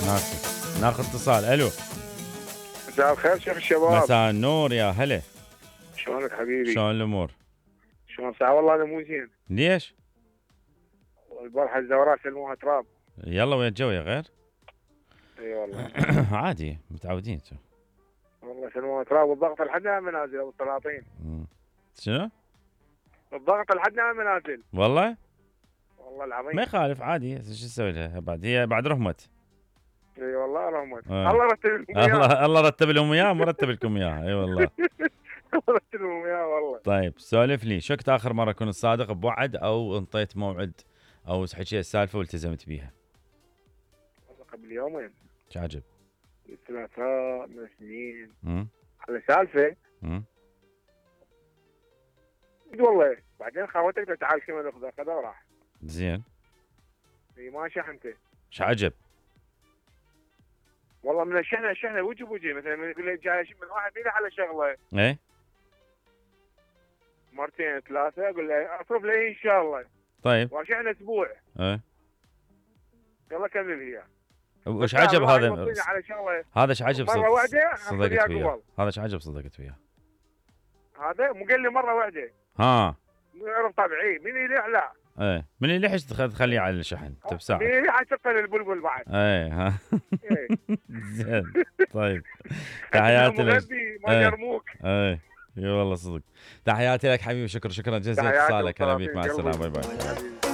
ناسي. ناخذ اتصال. الو. مساء الخير شيخ الشباب. مساء النور يا هلا. شلونك حبيبي؟ شلون الامور؟ شلون ساعة والله انا مو زين. ليش؟ البارحة الزوراء سلموها تراب. يلا وين الجو يا غير؟ اي والله. عادي متعودين. والله سلموها تراب والضغط لحدنا منازل ابو السلاطين. شنو؟ الضغط لحدنا منازل. والله؟ والله العظيم. ما يخالف عادي، شو تسوي لها بعد؟ هي بعد رحمت. اي والله رحمت. الله رتب لهم اياه. الله رتب لهم اياه مرتب لكم اياه. اي والله. الله رتب لهم اياه والله. طيب سولف لي، شو كنت اخر مره كنت صادق بوعد او انطيت موعد او حكيت السالفه والتزمت بيها؟ والله قبل يومين. شو عجب؟ ثلاثة من سنين. على سالفه. والله بعدين خاوتك تعال كمان ناخذها خذها وراح. زين. اي ما شحنته. شو عجب؟ والله من الشحنه وجه بوجه، مثلا يقول لي جاي من واحد يلي على شغله. ايه مرتين ثلاثه اقول له اصرف لي ان شاء الله. طيب وشحنه اسبوع. ايه يلا كمل هي. وش عجب هذا؟ على شغله. هذا ايش عجب مره واحده صدقت وياه؟ هذا ايش عجب صدقت وياه؟ هذا مو قال لي مره واحده. ها مو يعرف طبيعي من يليح لا. ايه من اللي ليش تخليه على الشحن تبساعد؟ من اللي حتشغل البلبل بعد. ايه ها. زين. طيب تحياتي لك. ما يرموك. ايه اي والله صدق. تحياتي لك حبيبي، شكرا جزيلا اتصالك. هلا بيك، مع السلامه، باي باي.